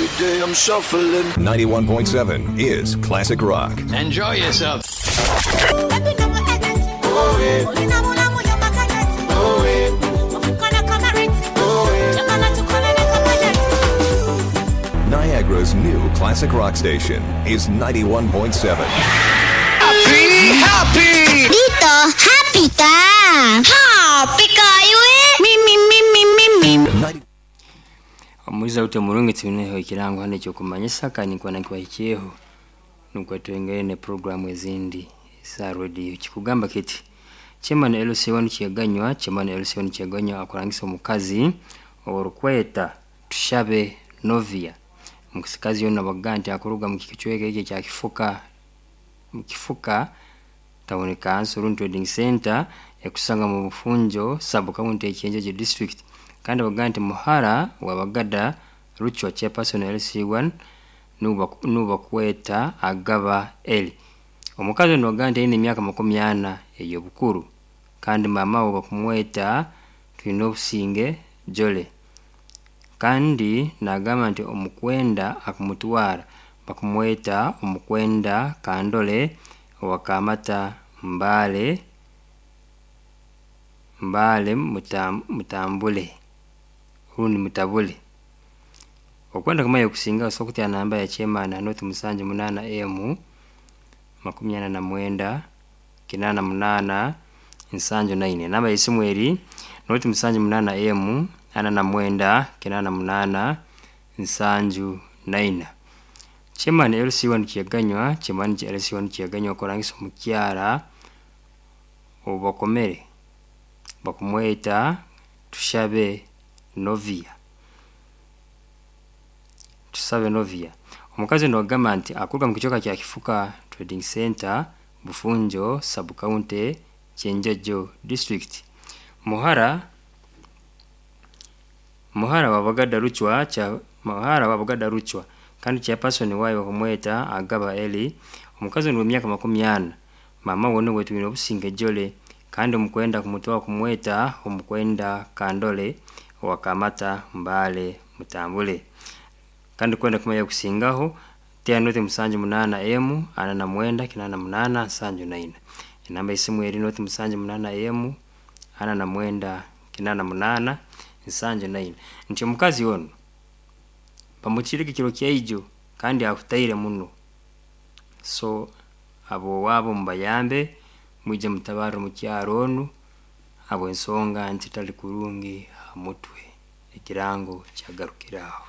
Every day I'm shuffling. 91.7 is Classic Rock. Enjoy yourself. Niagara's new classic rock station is 91.7. Happy, happy. Dito, happy ka! Happy kayo eh! Mi, mi, mi, mi, mi, mi. 90 Omuiza ute murungi tuneho ekirango hano ekyokumanyisa kandi nkuba nkibahikyeho nukwo twengere ne programu ezindi za radio kikugamba kiti Chairman LC1 Kyeganywa Chairman LC1 Kyeganywa akurangisa omukazi orukweta tushabe Novia omusikazi yono bakuga nti akuruga mu kicweka ekyo ekya Kifuka mu Kifuka town council Run Trading Center ekusanga mu Bufunjo sub county Ekyenjeje district kandi bakuga nti muhara wa Bagada Ruchwa chairperson LC1 nubakweta Agaba Eli omukazi ono bakuga nti aine emyaka 40 ey'obukuru kandi mama we bakumweta Twine Obusinge Jole kandi nagamba nti omukwenda akumutwara bakumweta omukwenda Kandole owakamata Mbale Mbale Mutambule rundi Mutabule okwenda kumanya okusinga osobola okutera namba ya chairman noti 78 M 49 88 79 enamba y'esimu eri noti 78 M 49 88 79 Chairman LC1 Kyeganywa Chairman LC1 Kyeganywa akurangisa omukyara obubakomere bakumweta Tushabe Novia Tusabe Novia omukazi ono agamba nti akuruga mu kicweka kya Kifuka Trading Center Bufunjo sub county Kyenjojo district muhara muhara wa Bagada Ruchwa cha muhara wa Bagada Ruchwa kandi chairperson wayo bakumweta Agaba Eli omukazi ono w'emyaka 40 mama we nuwe Twine Obusinge Jole kandi omukwenda kumutwara kumweta omukwenda Kandole owakamata Mbale Mutambule kandi kwenda kumanya kusingaho tera noti 78 M 49 88 79 enamba y'esimu eri noti 78 M 49 88 79 nti omukazi ono bamukireke ekiro kyaijo kandi akutaire muno so abo owaabo mubayambe mwije mutabarre omukyaro onu habw'ensonga nti tali kurungi ha mutwe ekirango kyagarukira aho.